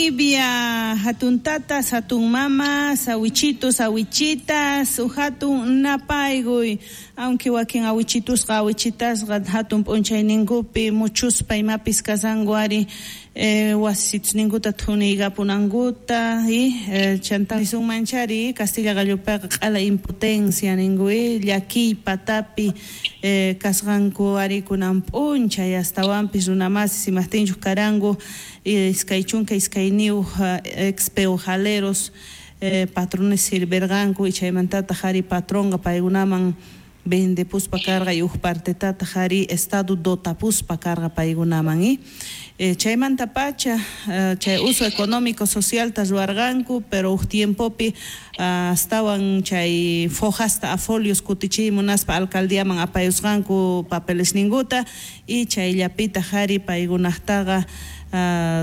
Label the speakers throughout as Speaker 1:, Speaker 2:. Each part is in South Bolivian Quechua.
Speaker 1: Bolivia, hatun tatas, hatun mamas, awichitos, awichitas, hatun napaykuy, aunque wakin awichitusqa awichitasqa hatun p'unchayninkupi muchuspa imapis kashanku ari wasisninkuta thuniykapunankuta y chanta nisunmanchari Castilla gallupiqa q'ala impotencia ninku llakiy patapi kasqanku ari kunan p'unchay astawanpis runamasis imajtinchus karanku 22 ex peojaleros patrones sirverqanku y chaymantataq ari patronqa paykunaman vendepuspa karqa y uj partetataq ari estado dotapuspa karqa paykunaman chaymanta pacha chay uso económico socialta ruwarqanku pero uj tiempopi astawan chay fojasta a folios kutichiy munaspa alcaldiaman apayusqanku papelesninkuta y chayllapitaq ari paykunaqtaqa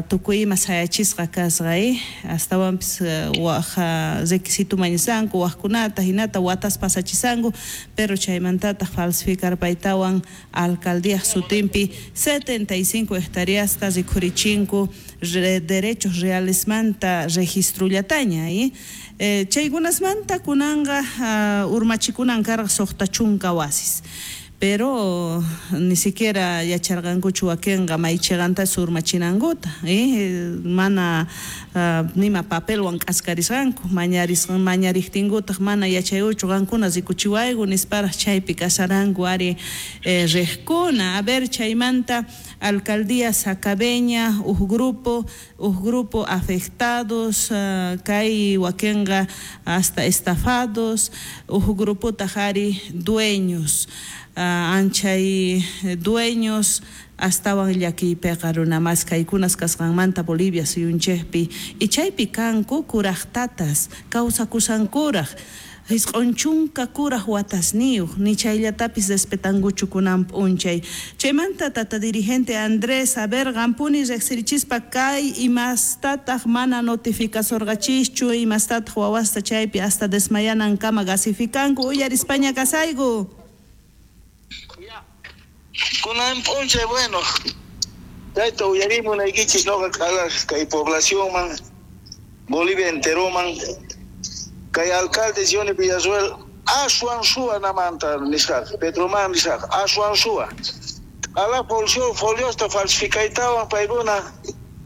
Speaker 1: tukuy ima sayachisqa kasqa astawanpis waj requisito mañasanku wajkunata hinata watas pasachisanku pero chaymantataq falsificarpaytawan alcaldía sutinpi 75 hectáreasta rikhurichinku derechos realesmanta registrullataña chaykunasmanta kunanqa urmachikunan karqa 60 wasis pero ni siquiera yacharqankuchu wakinqa maychiqanta urmachinankuta mana nima papelwan k'askarisqanku mañariqtinkutaq mana yachayuchu qankuna rikuchiwayku nisparaq chaypi kasaranku ari riqkuna. A ver, chaymanta alcaldía Sacabeña uj grupo afectados kay wakinqa hasta estafados uj grupotaq ari dueños anchay dueños astawan llakiypiqa runamas kaykunas kasqanmanta Bolivia suyunchikpi y chaypi kanku kuraqtatas kawsakusankuraq 90 kuraq watasniyuq ni chayllatapis respetankuchu kunan p'unchay. Chaymanta tata dirigente Andrés, a ver, qampuni riqsirichispa kay imastataq mana notificasorqachischu imastataq wawasta chaypi hasta desmayanankama gasificanku uyarispaña kasayku.
Speaker 2: Kunan p'unchay, bueno, chayta uyarimunaykichis noqa k'alaq kay poblacionman, Bolivia enteroman, kay alcalde Johnny Villarruel aswan suwa namanta nisqaqa, Pedroman nisqaqa, aswan suwa. K'ala foliosta falsificaytawan paykuna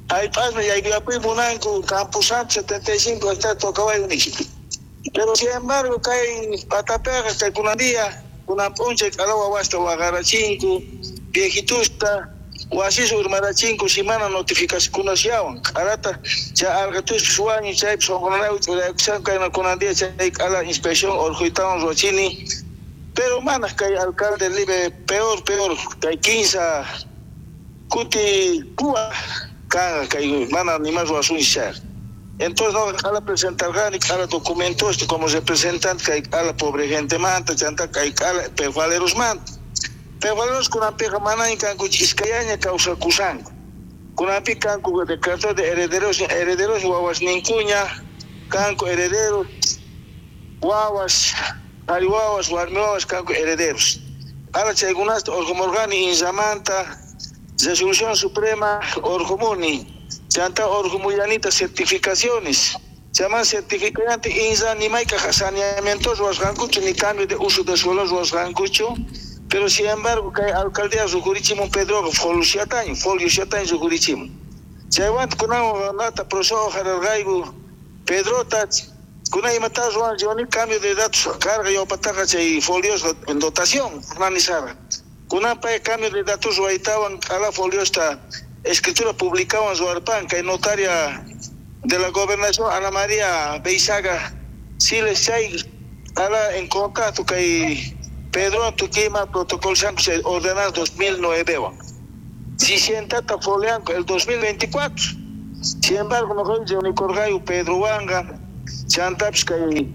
Speaker 2: jallp'asman yaykuyapuy munanku Camposanto 75 hectáreas tocawayku nispa. Pero sin embargo kay patapiqa kay kunan día kunan p'unchay k'ala wawasta waqarachinku, viejitusta, wasis urmarachinku si mana notificacionkunasllawan. K'alata chay alqatuspis wañu chaypis sunqunanawi ch'uraykushanku kayna kunan día chay k'ala inspección urquytawan ruwachini. Pero mana kay alcalde libre peor kay 15 kuti kuwa kanqa kay mana nima ruwasunchis chayqa. Entonces no k'ala presentarqani k'ala documentos como representante kay k'ala pobre gentemanta chanta kay k'ala pejualerosmanta. Pejualeros kunanpiqa manaña kanku iskayaña kawsakusanku. Kunanpi kanku declaratoria de herederos, herederos wawasninkuña, kanku herederos, wawas, qhari wawas, warmi wawas kanku herederos. K'ala chaykunasta urqumurqani inllamanta resolución suprema urqumuni. Chanta orgumullanita certificaciones. Chaman certificante inza ni mayka saneamiento ruwasqankuchu ni cambio de uso de suelo ruwasqankuchu. Pero sin embargo kay alcaldía rukurichimun Pedroqa foliosiataño rukurichimun. Chaywanta kunan nata proceso hararqayku Pedrota kunan imata ruwan Johnny cambio de datos carga yawpataqa chay folios en dotación nanisarqa. Kunan pay cambio de datos ruwaytawan k'ala foliosta escritura publicaban ruwarpan kay notaria de la gobernación Ana María Beizaga Siles chay ala en contacto kay Pedro Tuquima protocolo se ordenanza 2009 wan si sientata folianco el 2024. Sin embargo no unicorgayo Pedro Wanga chantapis kay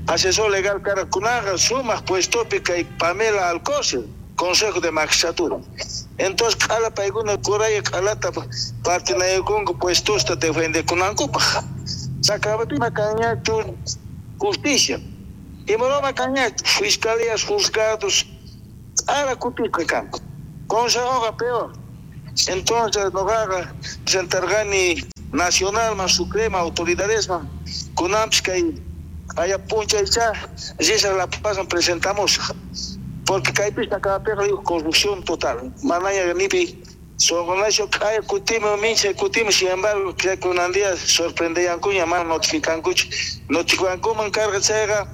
Speaker 2: asesor legal cara kunaqa sumaq puestopi kay Pamela Alcocer Consejo de Magistratura. Entonces, k'ala paykuna kuraya k'alata partinaykunku puestosta defendekunankupaq. Sacabapima kanñachu justicia. Imaroma kanñachu fiscalías, juzgados, k'ala kutisqa kanku. Consejoqa peor. Entonces, noqaqa presentarqani Nacionalman, Suprema autoridadesman kunanpis kay q'aya p'unchaycha risaq La Pazman presentamos, porque kaypis sakapiqa corrupción total, manaña nipi sonqonacho q'aya kutimun minchay kutimun. Sin embargo, chay kunan día sorprendeyankuña, mana notificankuchu, notificankuman karqa chayqa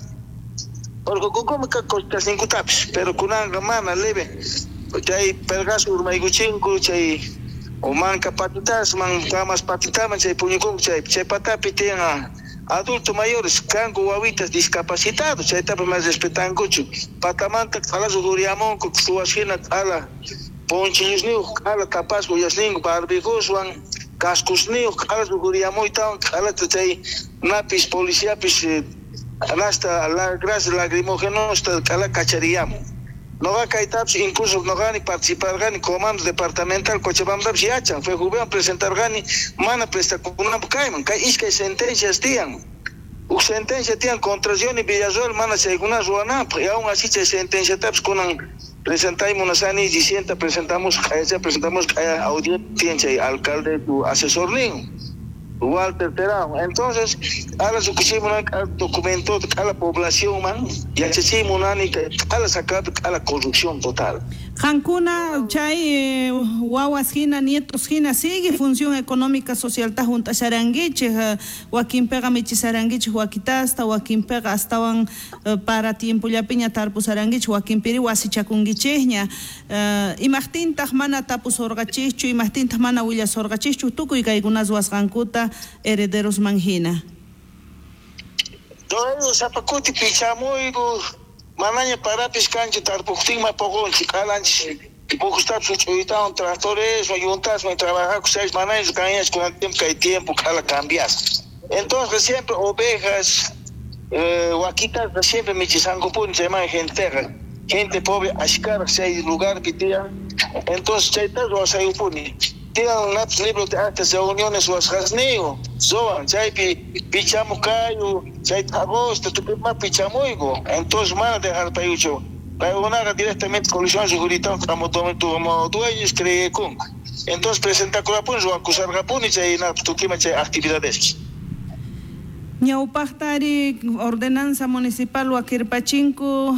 Speaker 2: orqokunkuman costasninkutapis, pero kunanqa mana leve chay perqasu urmaykuchinku, chay manka patitasman, camas patitaman chay puñukunku. Chay patapi tiyan adultos mayores, kanku wawitas discapacitados, chaytapas mana respetankuchu. Patamanta q'alasu ruriamunku suwas hina, q'ala ponchillusniyuq, q'ala tapasqa uyasninku barbijuswan, cascosniyuq, q'alasu ruriamuytawan q'alata chay napis policiapis hasta gas lacrimógenosta q'ala kachariyamun. Noqa kaytapis incluso noqani participarqani comando departamental Cochabambapis yachan, FEJUVEman presentarqani mana prestakunanpaq kayman. Kay iskay sentencias tiyan, huk sentencia tiyan contra Johnny Villarroel mana chaykuna ruwananpaq, y aún así chay sentenciatapis kunan presentay munasani dicienta presentamos q'ayacha presentamos q'aya audiencia chay alcalde tu asesornin Walter Terán. Entonces, ahora sukuchimunan documento a la población man, yachachimunani a la sacar a la corrupción total.
Speaker 1: Qankuna chay wawas hina, nietos hina sigue función económica social ta juntasharankichik, wakinpiqa michisarankichik wakitasta, wakinpiqa astawan para tiempollapiña tarpusarankichik, wakinpiri wasichakunkichikña. Imaqtintaq mana tapusurqachikchu, imaqtintaq mana willasurqachikchu tukuy kaykuna ruwasqankuta herederosman hina?
Speaker 2: Todo sapakuti pichamuyku, manaña parapis kanchu tarpuqtinma poqonchik, q'alanchis pujustapis huch'uytawan tractores, yuntasman trabajaku chaypis manaña kanñachu kunan tiempo, kay tiempo q'ala cambiasqa. Entonces siempre ovejas, wakitas siempre michisankupuni chayman genteqa, gente pobre ashkaraq chay lugarpi tiyan. Entonces chayta ruwasayupuni. Tiyan napis libro de actas reuniones ruwasqasniyu, ruwan chaypi pichamuq kayu, chay agosto tukuyma pichamuyku. Entonces mana dejarpayuchu. Paykunaqa directamente coalición rikuritawan como dueños creekunku. Entonces presentakurapuni, ruwakusarqapuni chay napis tukuyma chay actividades.
Speaker 1: Ñawpaqtari ordenanza municipal wakirpachinku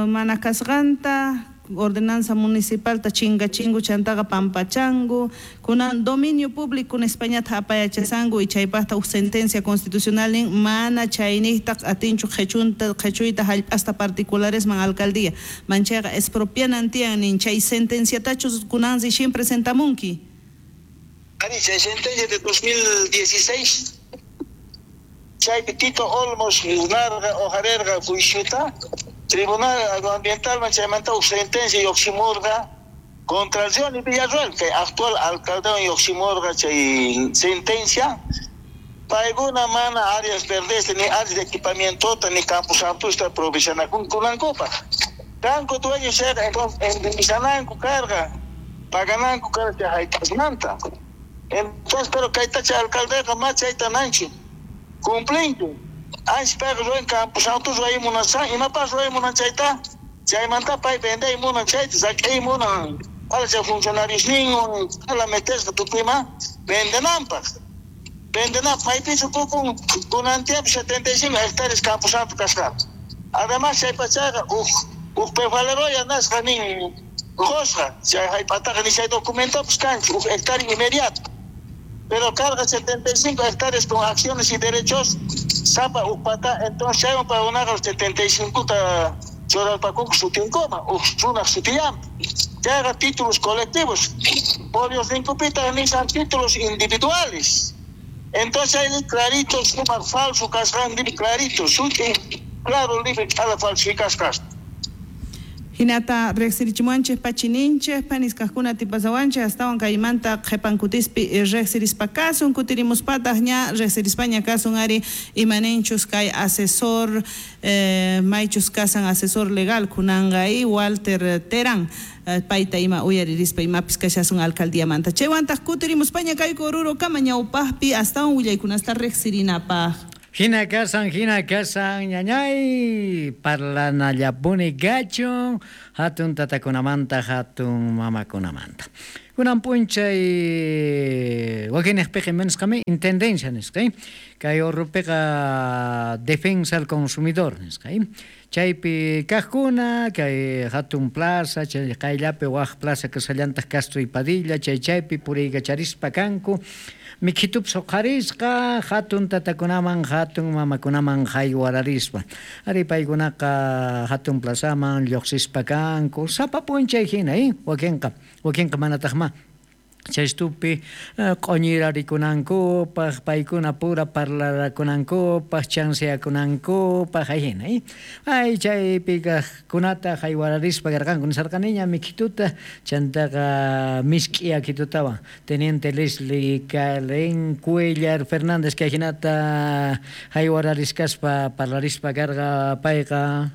Speaker 1: mana kasqanta, ordenanza municipal ta chinkachingu chantaqa pampachangu, kunan dominio público nispañata apayachasanku y chaypaqta huk sentencia constitucional nin mana chayniqtaq atinchu qhichunta qhichuyta hallp'asta particularesman alcaldía, manchayqa expropianan tiyan nin. Chay sentenciatachus kunan recién presentamunki?
Speaker 2: Ari, chay sentencia de 2016 chaypi Tito Olmos narqa hojarerqa juiciota Tribunal Agroambiental chaymanta huk sentencia lluqsimurqa contra Johnny Villarroel, que actual alcalde lluqsimurqa chay sentencia. Paykuna mana áreas verdes ni áreas de equipamiento ni campos santusta provisionakunankupaq. Kanku dueños chayqa, entonces indemnizananku karqa, pagananku karqa chay hallp'asmanta. Entonces, pero kayta chay alcaldeqa ma chayta nanchu cumplinchu. Ancha payqa ruwan Campo Santo ruway munasan, imapas ruway munan chayta, chaymanta pay venday munan chayta, sak'ay munan, ala chay funcionarios ninwan, ala metesqa tukuyma vendenanpaq. Vendenanpaq, maypichu tukun kunan tiempo 75 hectáreas Campo Santo kasqanta. Además chay pachaqa huk pefaleroya nasqa nin qusqa, chay hallp'ataqa ni chay documentopas kanchu, huk hectárea inmediato. Pero carga 75 hectáreas con acciones y derechos, sapa upata, entonces chaywan paykunaqa 75 ta churarpakunku sutinkuma, huk runaq sutillanpi. Chayqa títulos colectivos, poriosninkupitaq nisan títulos individuales. Entonces ahí clarito, sumaq falso kasqan, clarito, suti, claro, libre, q'ala falsificasqas.
Speaker 1: Hinata riqsirichimuanchik pachininchik paniskaqkuna tipasawanchik astawan kaymanta qhipankutispi riqsirispa kasun, kutirimuspataq ña riqsirispaña kasun ari imaninchus kay asesor maychus kasan asesor legal kunanqa y Walter Terán payta ima uyaririspa imapis kashasun alcaldiamanta. Chaywantaq kutirimuspaña kayku Oruro kama ñawpaqpi astawan willaykunasta riqsirinapaq.
Speaker 3: Hina kasan, ñañay, parlanallapuni gachun, hatun tatakunamanta, hatun mamakunamanta. Kunan p'unchay wakinnejpeqa ima nisqami intendencia nisqa, kay urrupiqa defensa al consumidor nisqa, chaypi kajkuna kay hatun plaza chay qayllapi waj plaza kashallantaj Castro y Padilla chay chaypi puriykacharispa kanku mikhitupis uqharisqa hatun tatakunaman hatun mamakunaman haywararispa ari paykunaqa hatun plazaman lluqsispa kanku sapa p'unchay hina wakinqa wakinqa manatajma chaystupi q'oñirarikunankupaj paykuna pura parlarakunankupaj chanseakunankupaj ajina ay chaypi kajkunata haywararispa karqanku nisarqaniña mikhituta chantaqa misk'i akitutawan Teniente Leslie Karen Cuellar Fernández kay jinata haywararisqaspa parlarispa karqa payqa.